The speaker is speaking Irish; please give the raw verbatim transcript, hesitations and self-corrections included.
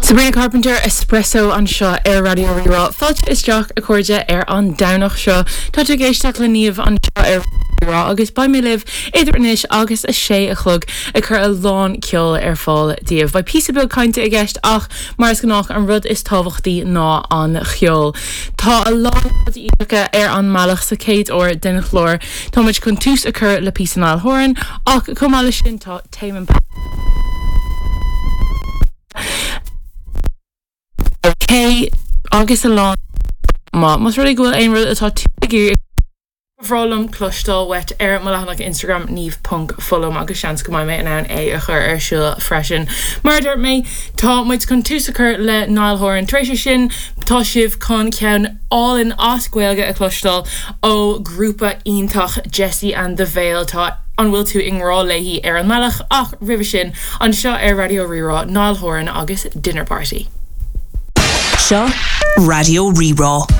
Sabrina Carpenter Espresso anseo ar Raidió Rí-Rá. Fáilte isteach a chairde ar an Domhnach seo. Tá tú ag éisteacht le Niamh anseo ar Rí-Rá agus beidh mé libh idir anois agus a sé a chlog ag cur a lán ceol ar fáil daoibh. Beidh píosa beag cainte i gceist ach mar is gnách an rud is tábhachtaí ná an ceol. Tá a lán rudaí ar an mbealach sa chéad uair den chlár. Táimid chun tús a chur le píosa Niall Horan ach chomh maith leis sin tá Tame Impala K agus a lán má Más rud é go bhfuil aon rud atá tú ag iarraidh ba bhreá liom cloisteáil uait ar mo leathanach Instagram niamh ponc foghlaim agus seans go mbeidh mé in ann é a chur ar siúl freisin. Mar a dúirt mé tá muid chun tús a chur le Niall Horan. Tar éis sin tá sibh chun ceann álainn as Gaeilge a chloisteáil ó grúpa iontach Jessie and the Veil tá an bhfuil tú i ngrá léi ar an mbealach ach roimhe sin anseo ar Raidió Rí-Rá Niall Horan agus Dinner Party. Seo Raidió Rí-Rá.